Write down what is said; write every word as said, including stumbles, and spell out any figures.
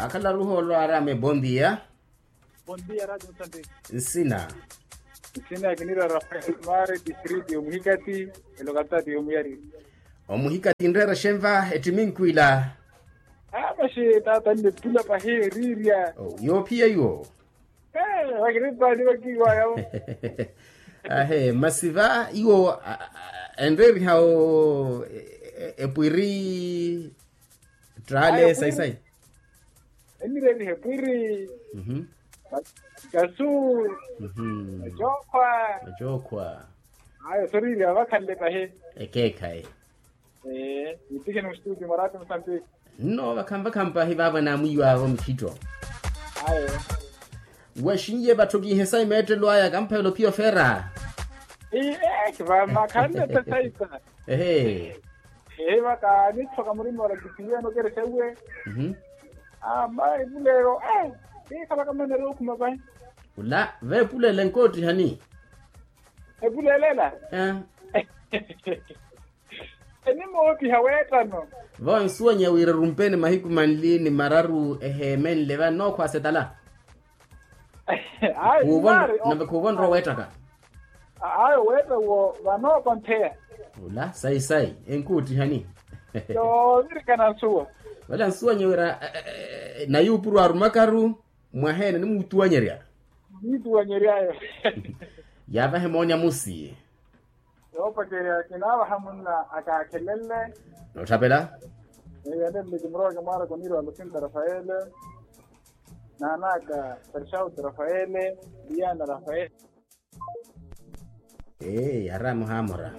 Akhalaru ohoolo arame bondia. Bondia radio nsante. Nsina. Nsina kinira rafael mare distrito yomuhikati. Elokatati yomuyari. Omuhikati nreera xenva ettiminkwila. Amaxi tata nne pula pahi erirya. Yoophiya iwo. Wakiripali wakiwaya. Ahe masi va iwo enreeriha o epwiri. Ttale sayi sayi. Enireeriha epwiri. Kasu. Ecookhwa. Ecookhwa. Ayo soriiri avakhanle pahi. Ekeekhayi. Ee nitikheni mustudio mwarati musambiki. Nno vakhampakhampa hivaavo naamwiiwaavo mikhitto. Ayo. Wexinye vatthokihe sa imeettelo aya kamphayela ophiya ofeera. Ee. Vamakhanle tte saisa. Ehe. Ee vaka nithoka murima ola kisiwiyano kerexeuwe. Ama epuleelo ee. Kiikhalaka maneri okhuma vahi. Ula veepuleela enkoottihani. Epuleelela. Enimoottiha weettano. Vo nsuwanya wira erumpeni mahiku manli ni mararu eheemenle vano nookhwaasa etala. Ayo. Nave khuuvo nrowa weettaka. Ayo weetta wo vanookontheya. Ula sayi sayi enkuuttihani. Yoovirikana nsuwa. Vale ansuwanya wira nayuupuru arumakaru. Mwaheene nimuutuwanyerya. Niituwanyeryayo. Yaavahe moonya musi. Yoopacerya kinaavaha munna akaakhelenle. Noottapela. Eyo ende nliki murowa kimwaara koniiri wa lusinta rafaele. Naan'aka pershauti rafaele. Liyana rafaele. Ee yaramu haamora.